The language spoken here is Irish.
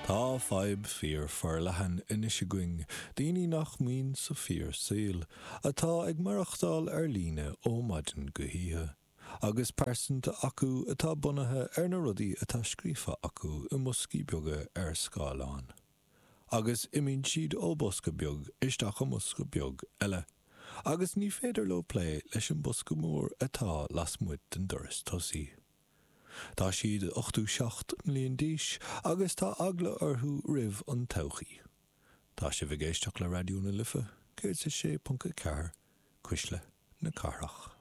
Tá fadhb fíor forleathan anois againn, daoine nach mbíonn sa fíor saol, atá ag maireachtáil ar líne ó maidin go hoíche, agus pearsanta acu atá bunaithe ar na rudaí atá scríofa acu i mboscaí beaga ar scáileán. Agus imíonn siad ó bosca beag isteach i mbosca beag eile, agus ní féidir leo plé leis an bosca mór atá lasmuigh den doras tosaigh. Tá siad 87 mbliain d'aois agus tá eagla orthu roimh an todhchaí. Tá sibh ag éisteacht le Raidió na Life 106.4, Cuisle na Cathrach.